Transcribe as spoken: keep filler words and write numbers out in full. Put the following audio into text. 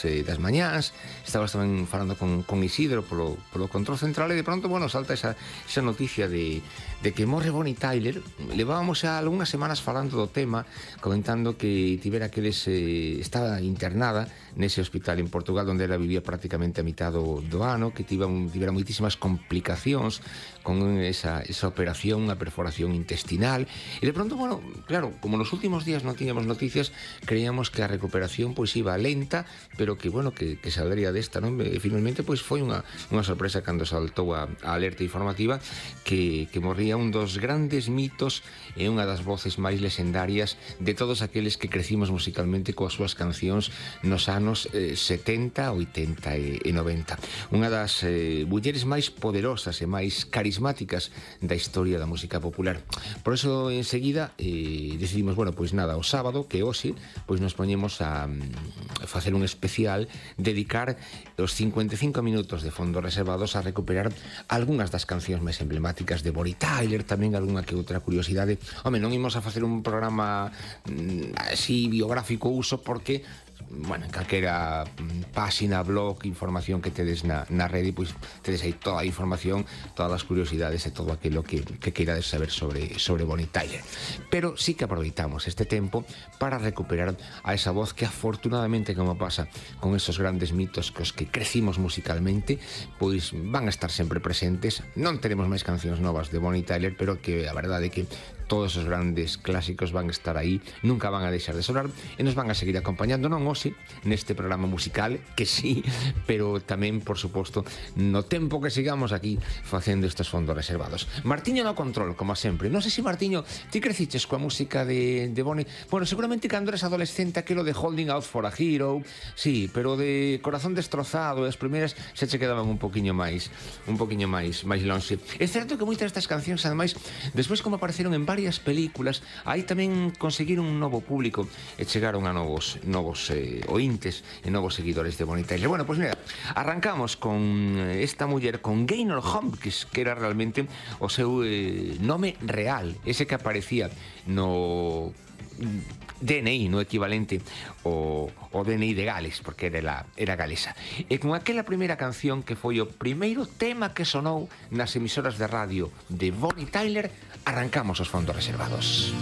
eh, das mañás, estabas tamén falando con, con Isidro polo, polo control central, e de pronto, bueno, salta esa, esa noticia de, de que morre Bonnie Tyler. Levábamos xa algunhas semanas falando do tema, comentando que tivera que des, eh, estaba internada nese hospital en Portugal onde ela vivía prácticamente a mitad do, do ano, que tiva, tivera moitísimas complicacións con esa, esa operación, unha perforación intestinal, e de pronto, bueno, claro, como nos últimos días non tiñamos noticias, creíamos que a recuperación pois iba lenta, pero que, bueno, que, que saldría desta, non? E finalmente, pois foi unha, unha sorpresa cando saltou a, a alerta informativa que, que morría un dos grandes mitos e unha das voces máis lexendarias de todos aqueles que crecimos musicalmente coas súas cancións nos anos eh, setenta, oitenta e, e noventa. Unha das eh, mulleres máis poderosas e máis carismáticas da historia da música popular. Por eso, enseguida, eh, decidimos, bueno, pois nada, o sábado, que hoxe, pois nos poñemos a, a facer un especial, dedicar os cincuenta e cinco minutos de fondos reservados a recuperar algunhas das cancións máis emblemáticas de Bonnie Tyler, tamén algunha que outra curiosidade. Home, non imos a facer un programa mm, así biográfico uso, porque bueno, en calquera páxina, blog, información que tedes na, na rede, pois tedes aí toda a información, todas as curiosidades e todo aquilo que, que queirades saber sobre, sobre Bonnie Tyler. Pero sí que aproveitamos este tempo para recuperar a esa voz que, afortunadamente, como pasa con esos grandes mitos cos que crecimos musicalmente, pois van a estar sempre presentes. Non teremos máis cancións novas de Bonnie Tyler, pero que a verdade é que todos os grandes clásicos van a estar aí, nunca van a deixar de sonar e nos van a seguir acompañando, non hoxe, neste programa musical, que sí, pero tamén, por suposto, no tempo que sigamos aquí facendo estes fondos reservados. Martiño no control, como sempre. Non sei se, Martiño, ti creciches coa música de, de Bonnie. Bueno, seguramente cando eres adolescente aquilo de Holding Out for a Hero, sí, pero de Corazón Destrozado, as primeiras se che quedaban un poquinho máis, un poquinho máis, máis longe. É certo que moitas destas cancións, ademais, despois como apareceron en varias películas, aí tamén conseguiron un novo público e chegaron a novos novos eh, ointes e novos seguidores de Bonnie Tyler. Bueno, pois mira, arrancamos con esta muller, con Gaynor Hopkins, que era realmente o seu eh, nome real, ese que aparecía no D N I, no equivalente o, o D N I de Gales, porque era, la, era galesa. E con aquela primeira canción que foi o primeiro tema que sonou nas emisoras de radio de Bonnie Tyler, arrancamos os fondos reservados.